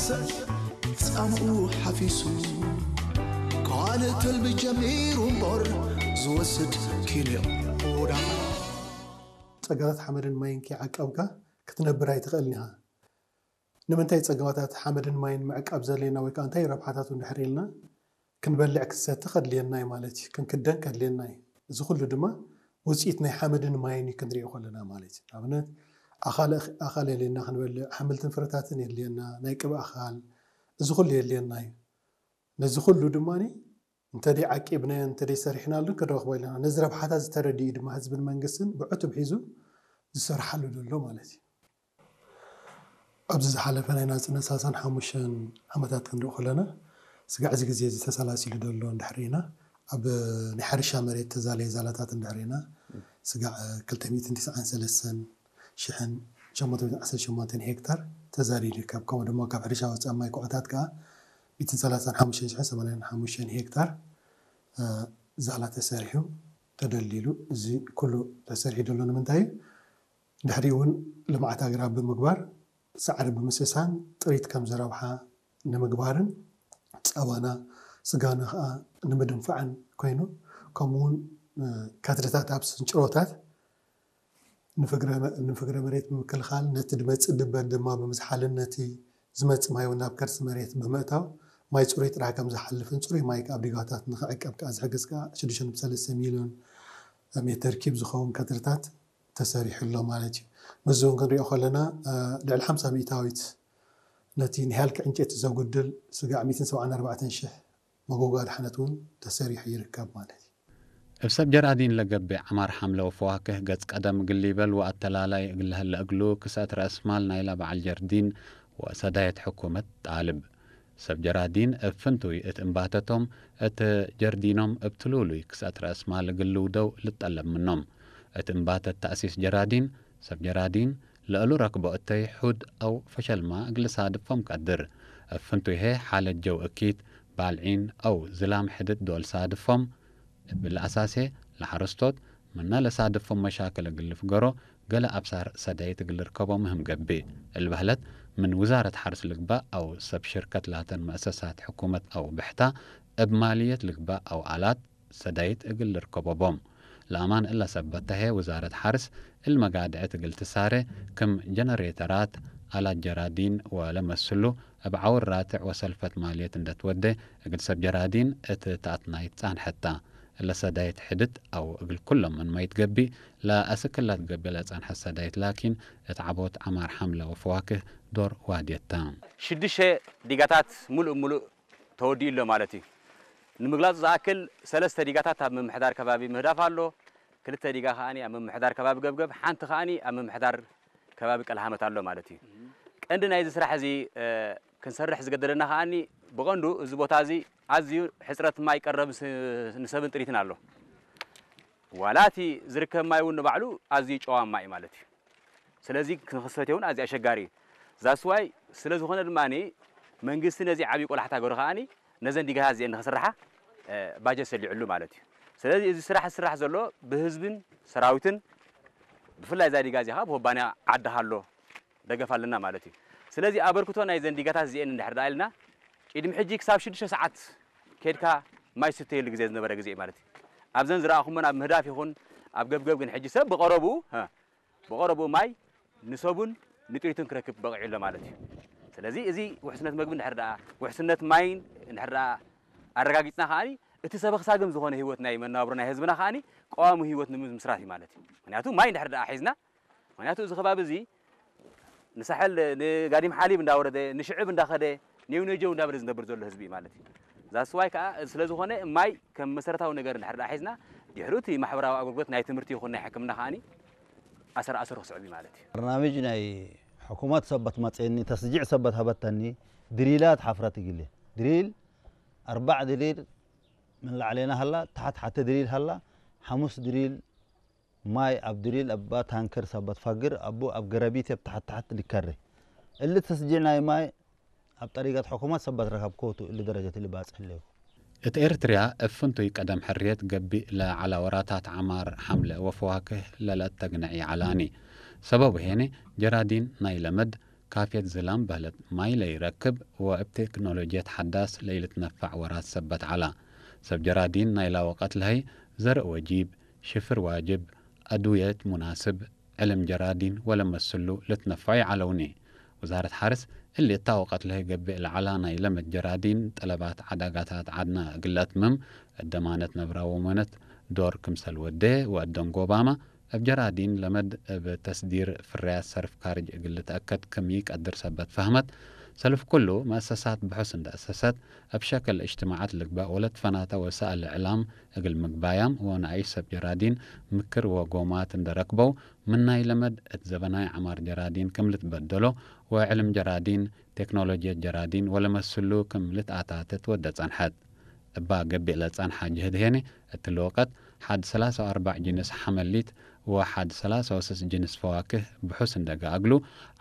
ሰብ ጻምኡ ሓፊሱ፣ ካልእ ትልሚ ጀሚሩ እምበር፣ ዝወስድ ኪንዮ ዳኣ። ጸጋታት ሓመድን ማይን ከይዓቀብካ ክትነብር ኣይትኽእልን ኢኻ። ንምንታይ ጸጋታት ሓመድን ማይን ምዕቃብ ዘድልየና ወይ ከኣ እንታይ ረብሓታቱ እንድሕር ኢልና፣ ክንበልዕ ክንሰቲ ከድልየና እዩ ማለት እዩ። ክንክደን ከድልየና እዩ። እዚ ኩሉ ድማ ውጽኢት ናይ ሓመድን ማይን እዩ ክንሪኦ ከለና ማለት እዩ። ንኣብነት ኣኻለ-፣ ኣኻል የድልየና ክንበልዕ፣ ኣሕምልትን ፍረታትን የድልየና፣ ናይ ቅብኣ ኣኻል፣ እዚ ኩሉ የድልየና እዩ። ነዚ ኩሉ ድማ እንተደይ ዓቂብናዮ እንተደይ ሰሪሕናሉ ክንረኽቦ ኣለና። ነዚ ረብሓታት ዝተረድኡ ድማ ህዝብን መንግስትን ብዕቱብ ሒዙ ዝሰርሓሉ ዘሎ ማለት እዩ። ኣብዚ ዝሓለፈ ናይ ናጽነት ሰላሳን ሓሙሽተን ዓመታት ክንርኢ ከለና፣ ስጋዕ እዚ ግዜ እዚ ተሰላሲሉ ዘሎ እንድሕር ኢና፣ ኣብ ናይ ሕርሻ መሬት ተዛለየ ዛላታት እንድሕር ኢና፣ ስጋዕ ክልተ ሚእትን ትስዓን ሰለስተን ሽሕን ሸሞንተ ሚእትን ዓሰርተ ሸሞንተን ሄክታር ተዛልዩ ይርከብ። ከምኡ ድማ ካብ ሕርሻ ወጻኢ ማይ ኩዕታት ከኣ ሚእትን ሰላሳን ሓሙሽተን ሽሕን ሰማንያን ሓሙሽተን ሄክታር፣ እ፣ ዛላ ተሰሪሑ ተደልዲሉ። እዚ ኩሉ ተሰሪሑ ዘሎ ንምንታይ እዩ? ድሕሪኡ እውን ልምዓት ኣግራብ ብምግባር፣ ሳዕሪ ብምስሳን ጥሪት ከም ዝረብሓ ንምግባርን፣ ጸባና፣ ስጋና ከኣ ንምድንፋዕን ኮይኑ፣ ከምኡ እውን፣ እ፣ ከትርታት ኣብ ስንጭሮታት ንፍግረ መ-፣ ንፍግረ መሬት ብምክልኻል፣ ነቲ ድመጽእ ድበን ድማ ብምዝሓልን፣ ነቲ ዝመጽእ ማይ እውን ናብ ከርሲ መሬት ብምእታው፣ ማይ ጽሩይ ጥራሕ ከም ዝሓልፍን፣ ጽሩይ ማይ ኣብ ዲጋታት ንኽዕቀብ ከኣ ዝሕግዝ ከኣ ሽዱሽተ ነጥቢ ሰለስተ ሚልዮን ሜተር ኪብ ዝኸውን ከትርታት ተሰሪሑ ኣሎ ማለት እዩ። ምስዚ እውን ክንሪኦ ከለና፣ እ፣ ልዕሊ ሓምሳ ሚእታዊት ነቲ ንሃልኪ ዕንጨይቲ ዘጉድል ስጋዕ ሚእትን ሰብዓን ኣርባዕተን ሽሕ መጎጎ ኣድሓነት እውን ተሰሪሑ ይርከብ ማለት እዩ። እብ ሰብ ጀራዲን ለገብእ ዐማር ሐምለ ወፈዋክህ ገጽ ቀደም እግል ሊበል ወአተላላይ እግል ለህለ እግሉ ክሰእት ረአስማል ናይላ በዐል ጀርዲን ወሰዳየት ሕኩመት ጣልብ። ሰብ ጀራዲን እብ ፍንቱይ እት እምባተቶም እት ጀርዲኖም እብ ትሉሉይ ክሰእት ረአስማል እግል ልውደው ልጠለብ ምኖም። እት እምባተት ተእሲስ ጀራዲን፣ ሰብ ጀራዲን ለእሉ ረክቦ እተይ ሑድ አው ፈሸልማ እግል ሳድፎም ቀድር። እብ ፍንቱይ ሄ ሓለት ጀው እኪት፣ ባልዒን አው ዝላም ሕድት ዶል ሳድፎም። እብሊ አሳሴ ለሐረስቶት ምነ ለሳድፎም መሻክል እግል ልፍገሮ ገለ አብሳር ሰዳይት እግል ልርከቦ ምህም ገብእ። እሊ በህለት ምን ውዛረት ሐርስ ልግባእ አው ሰብ ሽርከት ላተን መእሰሳት ሕኩመት አው ብሕታ እብ ማልየት ልግባእ አው አላት ሰዳይት እግል ልርከቦ ቦም። ለአማን እለ ሰበት ተሄ ውዛረት ሐርስ እሊ መጋድዕት እግል ትሳሬ ክም ጀነሬተራት፣ አላት ጀራዲን ወለመስሉ እብ ዐውር ራትዕ ወሰልፈት ማልየት እንደ ትወዴ እግል ሰብ ጀራዲን እት ተአትናይት ጻንሐት ታ። እለ ሰዳይት ሕድት አው እግል ኩሎም ምን ማይት ገቢእ ለአስክላት ገቢእ ለጸንሐት ሰዳይት ላኪን እት ዐቦት ዐማር ሐምለ ወፈዋክህ ዶር ዋድየት ታ። ሽዱሽተ ዲጋታት ሙሉእ ሙሉእ ተወዲኡ ኣሎ ማለት እዩ። ንምግላጹ ዝኣክል ሰለስተ ዲጋታት ኣብ ምምሕዳር ከባቢ ምህዳፍ ኣሎ፣ ክልተ ዲጋ ከኣኒ ኣብ ምምሕዳር ከባቢ ገብገብ፣ ሓንቲ ከኣኒ ኣብ ምምሕዳር ከባቢ ቀልሃመት ኣሎ ማለት እዩ። ቀንዲ ናይዚ ስራሕ እዚ፣ እ፣ ክንሰርሕ ዝገደደና ከኣኒ ብቐንዱ እዚ ቦታ እዚ ኣዝዩ ሕጽረት ማይ ቀረብ ስ-፣ ንሰብን ጥሪትን ኣሎ። ዋላ እቲ ዝርከብ ማይ እውን ንባዕሉ ኣዝዩ ጨዋማ እዩ ማለት እዩ። ስለዚ ክንክሰት እውን ኣዝዩ ኣሸጋሪ እዩ። ዛስዋይ ስለ ዝኾነ ድማ መንግስቲ ነዚ ዓብዪ ቆላሕታ ገይሩ ከኣኒ ነዘን ዲጋታት እዚአን ንክስርሓ፣ እ፣ ባጀት ሰሊዕሉ ማለት እዩ። ስለዚ እዚ ስራሕ ዝስራሕ ዘሎ ብህዝብን ሰራዊትን ብፍላይ እዛ ዲጋ እዚኣ ከዓ ብኩባንያ ዓዲ ሃሎ ደገፍ ኣለና ማለት እዩ። ስለዚ ኣበርክቶ ናይ ዘን ዲጋታት እዚአን እንድሕር ደኣ ኢልና ቅድሚ ሕጂ ክሳብ ሽዱሽተ ሰዓት ከድካ ማይ ዝስተየሉ ግዜ ዝነበረ ግዜ እዩ ማለት እዩ። ኣብዘን ዝረኣኹመን ኣብ ምህዳፍ ይኹን ኣብ ገብገብ ግን ሕጂ ሰብ ብቐረብኡ፣ ሀ፣ ብቐረብኡ ማይ ንሰቡን ንጥሪቱን ክረክብ በቒዑ ኣሎ ማለት እዩ። ስለዚ እዚ ውሕስነት መግቢ እንድሕር ደኣ፣ ውሕስነት ማይን እንድሕር ደኣ ኣረጋጊጽና ከኣኒ እቲ ሰበኽሳግም ዝኾነ ህይወት ናይ መነባብሮ ናይ ህዝብና ከኣኒ ቀዋሚ ህይወት ንምምስራት እዩ ማለት እዩ። ምክንያቱ ማይ እንድሕር ደኣ ሒዝና፣ ምክንያቱ እዚ ከባቢ እዚ ንሳሕል፣ ንጋዲም ሓሊብ እንዳወረደ፣ ንሽዕብ እንዳኸደ፣ ኔው ነጀው እንዳበለ ዝነብር ዘሎ ህዝቢ እዩ ማለት እዩ። ዛስዋይ ከዓ ስለ ዝኾነ ማይ ከም መሰረታዊ ነገር እንድሕር ደኣ ሒዝና፣ ድሕሩ እቲ ማሕበራዊ ኣገልግሎት ናይ ትምህርቲ ይኹን ናይ ሕክምና ከኣኒ ኣሰር ኣሰሩ ክስዕብ እዩ ማለት እዩ። በርናምጅ ናይ ሕኩመት ሰበት መጽእኒ፣ ተስጂዕ ሰበት ሃበተኒ፣ ድሪላት ሓፍረት ይግሌ። ድሪል፣ ኣርባዕ ድሪል ምን ላዕሌና ሃላ፣ ታሕት ሓቲ ድሪል ሃላ፣ ሓሙስ ድሪል ማይ ኣብ ድሪል እባ ታንከር ሰበት ፋግር፣ ኣቡ ኣብ ገረቢት እብ ታሕት ታሕት ልከሬ። እሊ ተስጂዕ ናይ ማይ ኣብ ጠሪቀት ሕኩመት ሰበት ረከብኮቱ እሊ ደረጀት እሊ ባጽሕ ኣለዩ። እት ኤርትርያ እብ ፍንቱይ ቀደም ሕርየት ገቢእ ለዐላ ወራታት ዐማር ሐምለ ወፈዋክህ ለለአተግነዕ ይዐላኒ። ሰበቡ ሄነ ጀራዲን ናይ ለመድ ካፌት ዝላም በህለት ማይ ለይረክብ ወእብ ቴክኖሎጅየት ሓዳስ ለይልትነፋዕ ወራት ሰበት ዐላ። ሰብ ጀራዲን ናይላ ወቀት ለሀይ ዘርእ ወጂብ፣ ሽፍር ዋጅብ፣ አድውየት ሙናስብ፣ ዕልም ጀራዲን ወለመስሉ ልትነፈዑ ይዓለውኒ። ውዛረት ሓርስ እሊ እታ ወቀት ለሀይ ገብእ ለዐላ ናይ ለመድ ጀራዲን ጠለባት ዐዳጋታት ዐድና እግል ለአትምም እደማነት ነብራ ወሞነት ዶር ክምሰል ወዴ ወአደንጎባመ እብ ጀራዲን ለመድ እብ ተስዲር ፍርያት ሰርፍ ካርጅ እግል ልትአከድ ክም ኢቀድር ሰበት ፈህመት፣ ሰልፍ ኩሉ መአሰሳት ብሑስ እንደ አሰሰት፣ እብ ሸክል እጅትማዓት ልግበእ ወለትፈናተ ወሳእል እዕላም እግል ምግባያም ወነአይሽ ሰብ ጀራዲን ምክር ወጎማት እንደ ረክበው፣ ምን ናይ ለመድ እት ዘበናይ ዐማር ጀራዲን ክም ልትበደሎ ወዕልም ጀራዲን፣ ቴክኖሎጅየት ጀራዲን ወለመስሉ ክም ልትአታትት ወደ ጸንሐት። እባ ገቢእ ለጸንሐ ጅህድ ሄኒ፣ እትሊ ወቀት ሐድ ሰላሳ ወአርባዕ ጅንስ ሐመሊት ወሐድ ሰላሳ ወስስ ጅንስ ፈዋክህ ብሑስ እንደገ አግሉ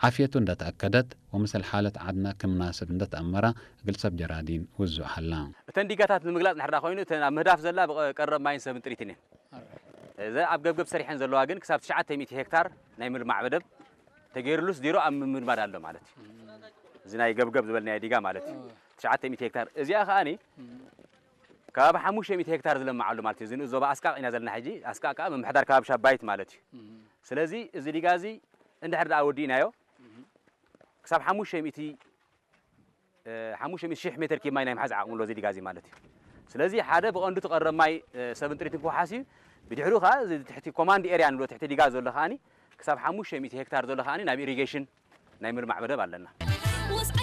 ዓፍየቱ እንደተአከደት ወምሰል ሓለት ዐድና ክም ናስብ እንደተአመራ እግል ሰብ ጀራዲን ውዙዕ ሀላ። እተን ዲጋታት ንምግላጽ እንድሕር ደኣ ኮይኑ፣ እተን ኣብ ምህዳፍ ዘላ ብቐ-፣ ቀረብ ማይን ሰብን ጥሪትን እየን። እዘ ኣብ ገብገብ ሰሪሐን ዘለዋ ግን ክሳብ ትሽዓተ ሚእቲ ሄክታር ናይ ምልማዕ መደብ ተገይሩሉስ ዜሮ ኣብ ምምድማድ ኣሎ ማለት እዩ። እዚ ናይ ገብገብ ዝበልናዮ ዲጋ ማለት እዩ። ትሽዓተ ሚእቲ ሄክታር። እዚኣ ከኣኒ ከባቢ ሓሙሽተ ሚእቲ ሄክታር ዝለምዕ ኣሎ ማለት እዩ። እዚ ንኡስ ዞባ ኣስቃቕ ኢና ዘለና ሕጂ። ኣስቃቕ ከኣ ምምሕዳር ከባቢ ሻባይት ማለት እዩ። ስለዚ እዚ ዲጋ እዚ እንድሕር ደኣ ወዲእናዮ፣ ክሳብ ሓሙሽተ ሚእቲ፣ እ፣ ሓሙሽተ ሚእቲ ሺሕ ሜትር ኪብ ማይ ናይ ምሓዝ ዓቕሚ ኣሎ እዚ ዲጋ እዚ ማለት እዩ። ስለዚ ሓደ ብቐንዱ እቲ ቀረብ ማይ፣ እ፣ ሰብን ጥሪትን ክወሓስ እዩ። ብድሕሪኡ ከኣ እዚ ትሕቲ ኮማንድ ኤርያ ንብሎ ትሕቲ ዲጋ ዘሎ ከኣኒ ክሳብ ሓሙሽተ ሚእቲ ሄክታር ዘሎ ከኣኒ ናብ ኢሪጌሽን ናይ ምልማዕ መደብ ኣለና።